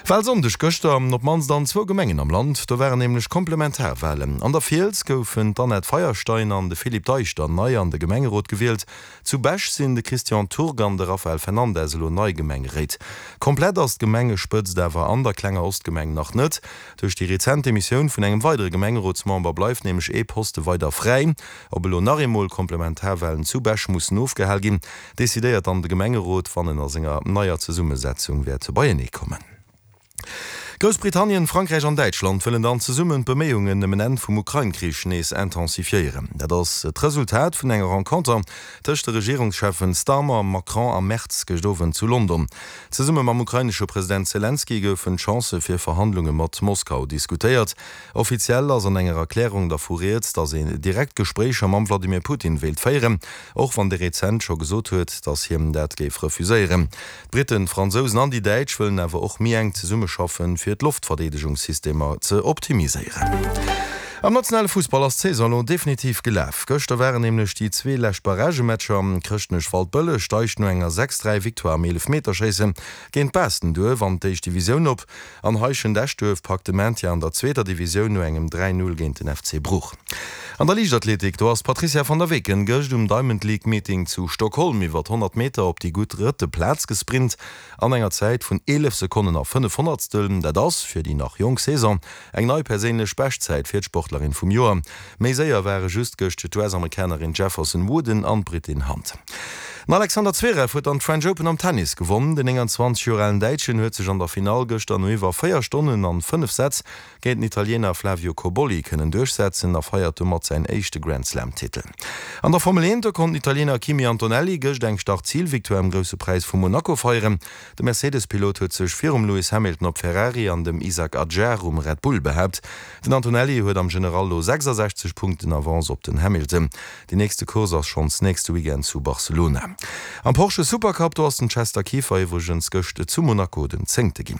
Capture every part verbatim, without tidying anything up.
Walsonndeg gëschter, op d'mannst an zwou Gemengen am Land. Do waren nämlech Komplementarwalen. An der Fiels goufen d'Annette Feierstein an de Philippe Deichter nei an de Gemengerot gewielt. Zu Bech sinn de Christian Turk an de Rafael Fernandes elo nei Gemengeréit. Komplett ass d'Gemengespëtzt awer an der klenger Ostgemeng nach net. Duerch déi rezent Demissioun vun engem weidere Gemengerotsmember bleift nämlech ee Poste weider fräi. Ob elo nach eemol Komplementarwalen zu Bech mussen ofgehal ginn, decidéiert dann de Gemengerot, wann en a senger neier Zesummesetzung wäert beienee kommen. Groussbritannien, Frankräich an Däitschland wëllen dann zesummen d'Beméiungen ëm en Enn vum Ukrain-Krich nees intensifiéieren. Dat ass d'Resultat vun enger Renconter tëscht de Regierungscheffen Starmer, Macron a Merz gëscht Owend zu London. Zesumme mam ukrainesche President Selenskyj goufen d'Chancë fir Verhandlunge mat Moskau diskutéiert. Offiziell ass an enger Erklärung dervu rieds, datt een direkt Gespréicher mam Wladimir Putin wéilt féieren, och wann dee rezent scho gesot huet, datt hien dat géif refuséieren. D'Britten, d'Fransousen an déi Däitsch wëllen awer och méi enk zesummeschaffen, fir d'Loftverdeedegungssystemer ze optimiséieren. Am nationale Fussball ass d'Saison elo definitiv gelaf. Gëschter waren nämlech déi zwee lescht Barragematcher. Chrëschtnech-Waldbëlleg steigt no enger sechs dräi Victoire am Eelefmeterschéisse géint Baastenduerf an d'éischt Divisioun op an Heischent-Eschduerf packt de Maintien an der zweeter Divisioun no engem dräi null géint den F C Bruch. An der Liichtathletik, do ass d'Patrizia van der Weken gëscht um Diamond League Meeting zu Stockholm iwwer honnert Meter op déi gutt drëtte Plaz gesprint an enger Zäit vun eelef Sekonnen a fënnef Honnertstel. Dat ass, fir déi nach jonk Saison, eng nei perséinlech Beschtzäit fir d'Sportlerin vum Joer. Méi séier ware just gëscht d'U S-Amerikanerin Jefferson Wooden an d'Britin Hunt. Den Alexander Zverev huet dann d'French Open am Tennis gewonn. Den nénganzwanzeg Joer alen Däitschen huet sech an der Finall gëschter no iwwer véier Stonnen an fënnef Sätz géint den Italiener Flavio Cobolli kënnen duerchsetzen a feiert domat säin éischte Grand-Slam-Titel. An der Formel eent, do konnt den Italiener Kimi Antonelli gëscht eng Start-Zil-Victoire am Grousse Präis vu Monaco feieren. De Mercedes-Pilot huet sech virum Lewis Hamilton op Ferrari an dem Isack Hadjar um Red Bull behaapt. Den Antonelli huet am General lo sechsasechzeg Punkten Avance op den Hamilton. Déi nächste Course ass schonns nächste Weekend zu Barcelona. Am Porsche Supercup, do ass den Chester Kieffer iwwregens gëscht zu Monaco den Zéngte ginn.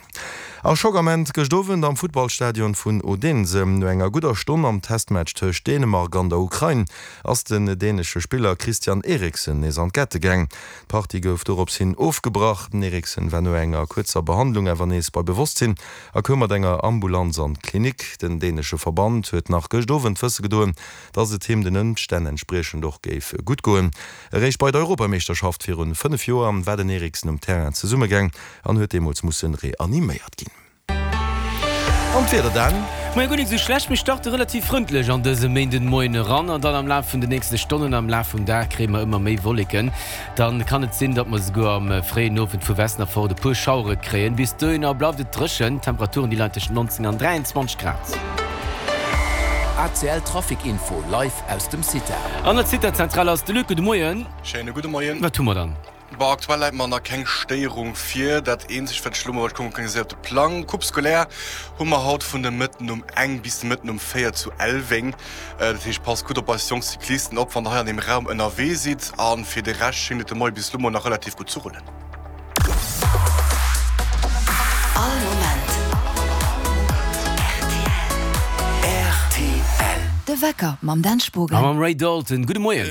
A Schockament gëscht Owend am Futtballstadion vun Odense. No enger gudder Stonn am Testmatch tëscht Dänemark an der Ukrain ass den dänesche Spiller Christian Eriksen nees an d'Kette gaang. D'Partie gouf dorops hin ofgebrach. Den Eriksen war no enger kuerzer Behandlung awer nees bei Bewosstsinn a koum mat enger Ambulanz an d'Klinik. Den dänesche Verband huet nach gëscht Owend wësse gedoen, dass et him den Ëmstänn entspriechend och géif gutt goen. Eréischt bei der Europameeschterschaft virun fënnef Joer war den Eriksen um Terrain zesummegaang an huet deemools musse reaniméiert ginn. An d'Wieder dann? Moien, guer nik sou schlecht, mir starte relativ frëndlech an dëse Méindenmoien eran an dann am Laf vun de nächste Stonnen, am Laf vum Dag kréie mer ëmmer méi Wolleken. Dann kann et sinn, datt mer esouguer am fréien Owend vu Westen erfort e puer Schauere kréien. Bis dohinner bleift et dréchen, d'Temperaturen déi leien tëschent neunzéng an dräianzwanzeg Grad. A C L Trafic Info live aus dem CITA. An der CITA-Zentral ass de Luc. Gudde Moien. Schéine gudde Moien. Wat hu mer dann? Bon, aktuell läit mer nach keng Stéierung vir. Dat eenzegt, wat ech elo mol wat kucke kann, ass op de Plang. Coupe scolaire hu mer haut vun de Mëtten um eng bis de Mëtten um véier zu Elweng. Dat heescht, passt gutt op eis jonk Cyclisten op, wann der hei an deem Raum ënnerwee sidd. A fir de Rescht schéngt et de Moie bis elo mol nach relativ gutt ze rullen. All Moment R T L. De Wecker mam Dan Spogen. A mam Ray Dalton. Gudde Moien.